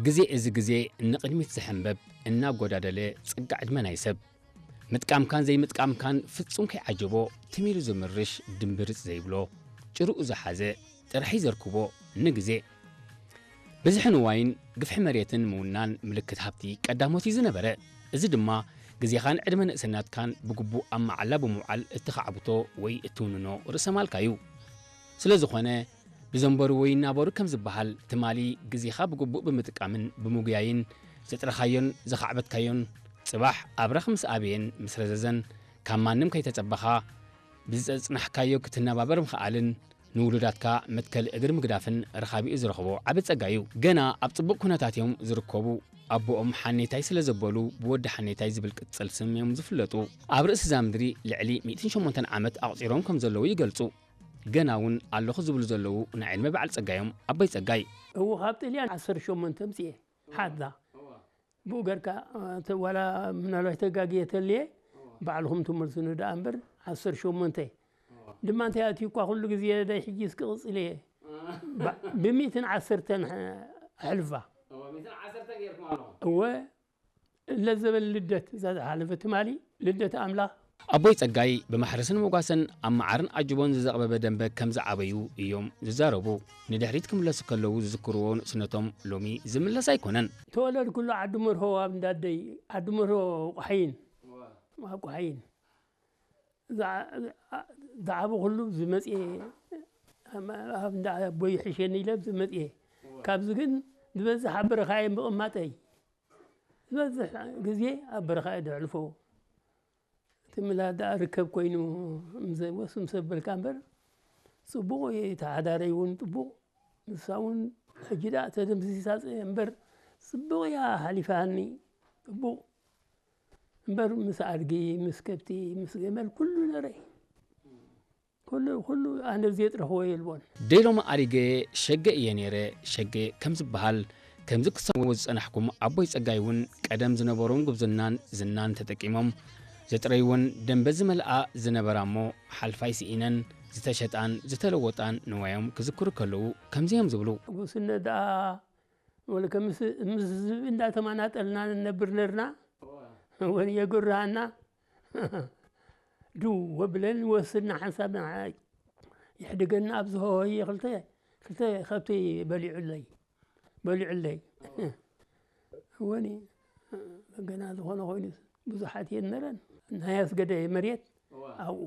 ግዜ እዚ ግዜ ንቕድሚት ዝሕንበብ እናጎዳደለ ጽጋ ዕድመ ናይ ሰብ ምጥቃምካን ዘይምጥቃምካን ፍጹም ከይዓጀቦ ትም ኢሉ ዝምርሽ ድምብርጽ ዘይብሎ ጭርኡ ዝሓዘ ጥራሕ እዩ ዘርክቦ ንግዜ። ብዝሒ ንዋይን ግፍሒ መሬትን ምውናን ምልክት ሃብቲ ቀዳሞት እዩ ዝነበረ። እዚ ድማ ግዜኻን ዕድመ ንእስነትካን ብግቡእ ኣብ መዓላ ብምውዓል እትኻዕብቶ ወይ እትውንኖ ርእሰ ማልካ እዩ። ስለ ዝኾነ ብዘንበሩ ወይ እናበሩ ከም ዝበሃል ትማሊ ግዜኻ ብግቡእ ብምጥቃምን ብምጉያይን ዘጥረኻዮን ዘኻዕበትካዮን ጽባሕ ኣብራኽ ምስ ኣበየን ምስ ረዘዘን ካብ ማንም ከይተጸበኻ ብዝጸጽናሕካዮ ክትነባበር ምኽኣልን ንውሉዳትካ መትከሊ እግሪ ምግዳፍን ረኻቢኡ ዝረኽቦ ዓቢ ጸጋ እዩ። ገና ኣብ ጽቡቕ ኩነታት እዮም ዝርከቡ። ኣቦኦም ሓኔታይ ስለ ዘበሉ ብወዲ ሓኔታይ ዝብል ቅጽል ስም እዮም ዝፍለጡ። ኣብ ርእሲ እዛ ምድሪ ልዕሊ ሚእትን ሸሞንተን ዓመት ኣቑጺሮም ከም ዘለዉ ይገልጹ። ገና እውን ኣለኹ ዝብሉ ዘለዉ ናይ ዕድመ በዓል ጸጋይ እዮም። ኣቦይ ጸጋይ። እዎ ካብ ጥልያን ዓሰርተ ሸሞንተ ምጽኤ ሓዛ ብኡ ገርካ ዋላ ምናልባት ተጋግየ ተልየ ባዕልኹም ትመልሱኒ ደኣ እምበር ዓሰርተ ሸሞንተ ድማ እንታይ ኣትዩ እኳ ኩሉ ግዜ ዳይ ሕጂ እስኪ ቅጽል እየ ብሚእትን ዓሰርተን ኣሕልፋ እወ ለዘበን ልደት እዛ ዝሓለፈ ትማሊ ልደት ኣምላኽ ኣቦይ ጸጋይ ብማሕረስን መጓሰን ኣብ መዓርን ኣጅቦን ዝዘቕበበ ደንበ ከም ዝዓበዩ እዮም ዝዛረቡ። ንድሕሪት ክምለሱ ከለዉ ዝዝክርዎ ንእስነቶም ሎሚ ዝምለስ ኣይኮነን። ተወለድኩሉ ዓዲ መርሆ ኣብ እንዳደይ ዓዲ መርሆ ቋሕይን ኣብ ቋሕይን ዝዓበኹሉ ዝመጽኤ ኣብ እንዳ ኣቦይ ይሕሸኒ ኢለ ዝመጽኤ ካብዚ ግን ዝበዝሕ ኣብ በረኻ እየ ምቕማጠይ ዝበዝሕ ግዜ ኣብ በረኻ እየ ዘሕልፎ። እቲ ምላድ ደኣ ርከብ ኮይኑ ምስ ዘበልካ እምበር ጽቡቕ እዩ። እቲ ሓዳረይ እውን ጽቡቕ ንሳ እውን ሕጂ ደኣ ተደምሲሳ እምበር ጽቡቕ እያ ሓሊፋኒ ጽቡቕ እምበር ምስ ኣድጊ ምስ ከብቲ ምስ ገመል ኩሉ ነረ ኩሉ ኩሉ ኣነ ዝየጥረኽዎ የልቦን። ደይሎሚ ኣሪገ ሸገ እየ ነይረ ሸገ ከም ዝበሃል ከምዚ ክትሰምዕዎ ዝጸናሕኩም ኣቦይ ጸጋይ እውን ቀደም ዝነበሮም ጉብዝናን ዝናን ተጠቂሞም ዘጥረይወን ደንበ ዝመልኣ ዝነበራ እሞ ሓልፋይ ስኢነን ዝተሸጣን ዝተለወጣን ንዋዮም ክዝክሩ ከለዉ ከምዚ እዮም ዝብሉ። ጉስነት ደኣ ወለ ከም ምስ ዝብኢ እንዳተማናጠልና ንነብር ነርና ወን የጉርሃና ድው ወብለን ወስድና ሓንሳብ ይሕድገና ኣብ ዝሆየ ክልተ ክልተ ከብቲ በሊዑለይ በሊዑለይ ወኒ ገና ዝኾነ ኮይኑ ብዙሓት እየን ነረን ናይ ኣስገደ መሬት ኣብኡ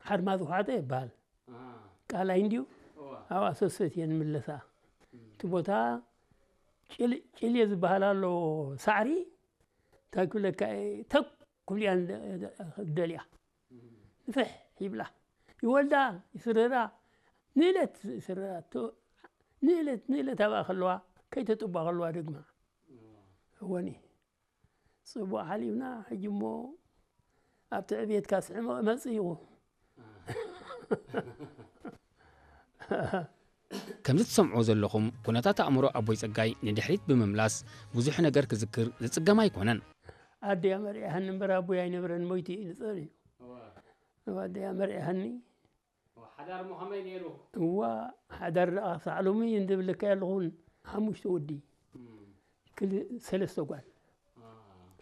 ሓርማዝ ውሓጠ ይበሃል ቃላይ እንዲዩ ኣብኣ ሰሰት እየን ምለሳ እቲ ቦታ ጭልየ ዝበሃል ኣሎ ሳዕሪ እንታይ ክብለካ ተኩል እያ ደልያ ንፍሕ ይብላ ይወልዳ ይስረራ ንእለት ይስረራ ንእለት ንእለት ኣብኣ ከለዋ ከይተጥባ ከለዋ ደግማ እወኒ ጽቡቕ ሓሊፍና ሕጂ እሞ ኣብቲ ዕብየትካ ስዕመቕ መጽእ ኢኹ ከምዚ ትሰምዕዎ ዘለኹም ኩነታት ኣእምሮ ኣቦይ ጸጋይ ንድሕሪት ብምምላስ ብዙሕ ነገር ክዝክር ዝጽገም ኣይኮነን። ኣደያ መርዒሃኒ እምበር ኣቦይ ኣይነብረን ሞይቱ እዩ ንጸር እዩ። ኣደያ መርዒሃኒ። ሓዳር ሞ ከመይ ነይሩ? እዋ ሓዳር ደኣ ሳዕሎሚ እንድብለካ ኣለኹን ሓሙሽተ ወዲ ክል ሰለስተ ጓል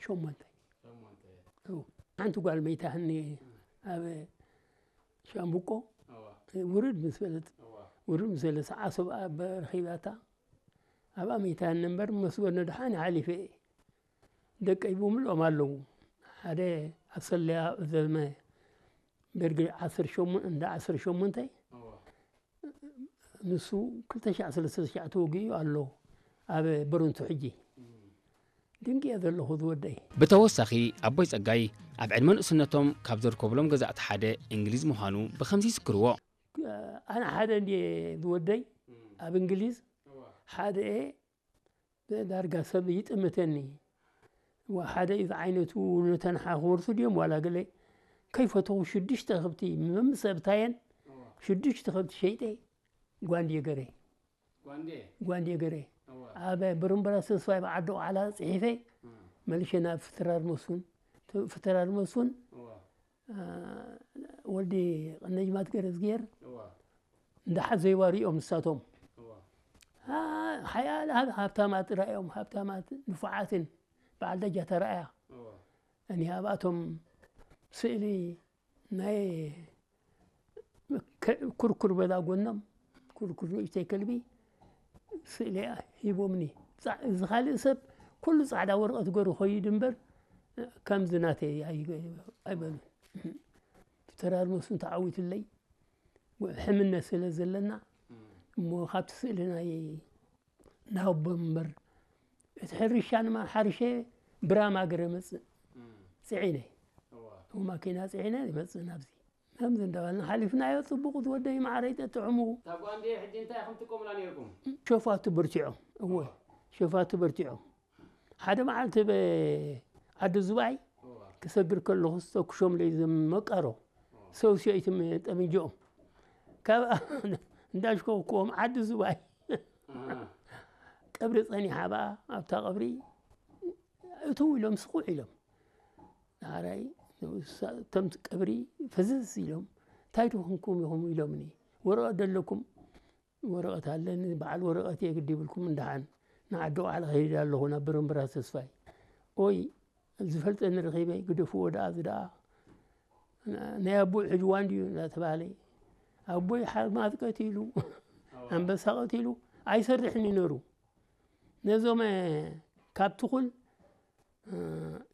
ሸሞንተ ሓንቲ ጓል መይታህኒ ኣብ ሻምብቆ ውርድ ምስ በለት ውርድ ምስ በለት ዓሶብ ኣብ ረኺባታ ኣብኣ መይታህኒ እምበር መስጎነ ድሓን ሓሊፈ እየ ደቀይ ብምልኦም ኣለዉ ሓደ ኣሰለያ ዘመ ደርጊ ዓሰርተ ሸሞንተ እንዳ ዓሰርተ ሸሞንተ ንሱ ክልተ ሻዕ ሰለስተ ሻዕ ተወጊኡ ኣሎ ኣብ በረንቱ ሕጂ ድንቂ እየ ዘለኹ ዝወደይ። ብተወሳኺ ኣቦይ ጸጋይ ኣብ ዕድመ ንእስነቶም ካብ ዘርከብሎም ገዛእቲ ሓደ እንግሊዝ ምዃኑ ብኸምዚ ይዝክርዎ። ኣነ ሓደ እንድየ ዝወደይ ኣብ እንግሊዝ ሓደ እየ ዳርጋ ሰብ ይጥምተኒ ሓደ እዩ ዝዓይነቱ ነተን ሓክወርሱ ድዮም ዋላ ገለ ከይፈተኹ ሽዱሽተ ከብቲ መምሰብታየን ሽዱሽተ ከብቲ ሸይጠ ጓንድየ ገረ ጓንድየ ገረ ኣብ ብርምበራ ተስፋይ ብዓዲ ቆዓላ ፅሒፈ መልሸ ናብ ፍትራር መስፉን ፍትራር መስፉን ወልዲ ቀነጅማት ገረዝጌር እንዳሓት ዘይዋሪኦም ንሳቶም ሓያል ሃብ- ሃብታማት ራእዮም፣ ሃብታማት ንፉዓትን በዓል ደጃ ተራእያ። እኒ ኣብኣቶም ስእሊ ናይ ከ- ኩርኩር በላ ጎኖም፣ ኩርኩር ንእሽተይ ከልቢ ስእሊ ሂቦምኒ። ጻ- እዚ ካልእ ሰብ ኩሉ ጻዕዳ ወረቐት ገሩ ኸይድ እምበር ከምዚ ናተይ ኣይ- ኣይበሉን። ተራርመሱን ተዓዊትለይ ሕምነት ስለ ዘለና እሞ ካብቲ ስእሊ ናይ ናቦ እምበር እቲ ሕርሻ ንማ ሓርሸ ብራማ ገረ መጽእ ጽዒነ ማኪና ጽዒነ ይመጽእ ናብዚ ከምዚ እንዳበልና ሓሊፍናዮ። ጽቡቕ ዝወደይ ማዕረይ ጠጥዕሙ። እታ ጓንዴ ሕጂ እንታይ ኢኹም ትጥቀሙላ ነይርኩም? ሸፋቱ በርቲዖም እወ ሸፋቱ በርቲዖም ሓደ መዓልቲ ብ- ዓዲ ዝባይ ክሰግር ከለኹ ዝተኩሾም ለይ ዝመቀሮ ሰውሲኦይትም ጠምንጆኦም ካብ እንዳሽኮኩዎም ዓዲ ዝባይ ቀብሪ ጸኒሓ በኣ ኣብታ ቀብሪ እትው ኢሎም ስቑዕ ኢሎም ንዓራይ እቶም ቀብሪ ፈዝዝ ኢሎም እንታይ ትኾንኩም ኢኹም ኢሎምኒ ወረቐት ደለኩም ወረቐት ኣለኒ በዓል ወረቐት እየ ግዲ ይብልኩም እንደሓን ንዓዲ ቃዕሊ ከይድ ኣለኹ ናብ ብረምብራ ተስፋይ ኦይ ዝፈልጠኒ ረኺበ ግደፍዎ ደኣ እዚ ደኣ ናይ ኣቦይ ሕጅዋ እንድዩ እናተባህለ ኣቦይ ሓማት ቀቲሉ ኣንበሳ ቀቲሉ ኣይሰርሕን ይነሩ ነዞም ካብ ትኹል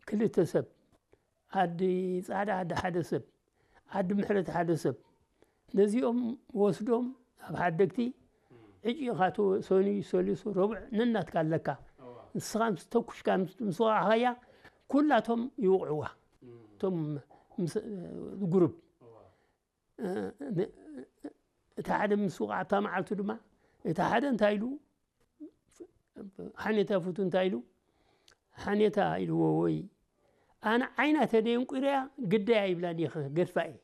ክልተ ሰብ ዓዲ ፃዕዳ ዓዲ ሓደ ሰብ ዓዲ ምሕረት ሓደ ሰብ ነዚኦም ወስዶም ኣብ ሓደግቲ ዕጪኻ ሰኑይ ሰሉስ ረቡዕ ነናትካ ኣለካ ንስኻ ምስ ተኩሽካ ምስ ወቃዕኻያ ኩላቶም ይውቕዕዋ እቶም ጉሩብ እቲ ሓደ ምስ ውቃዕታ መዓልቱ ድማ እቲ ሓደ እንታይ ኢሉ ሓኔታ ፍቱ እንታይ ኢሉ ሓኔታ ኢልዎ ወይ ኣነ ዓይና ተደየንቁርያ ግዳይ ኣይብላን እየ ገድፋ እየ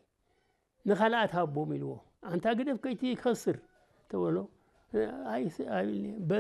ንኻልኣት ሃቦም ኢልዎ ኣንታ ግደፍ ከይቲ ክኸስር ተበሎ ኣይስ- ኣይብልኒ። በል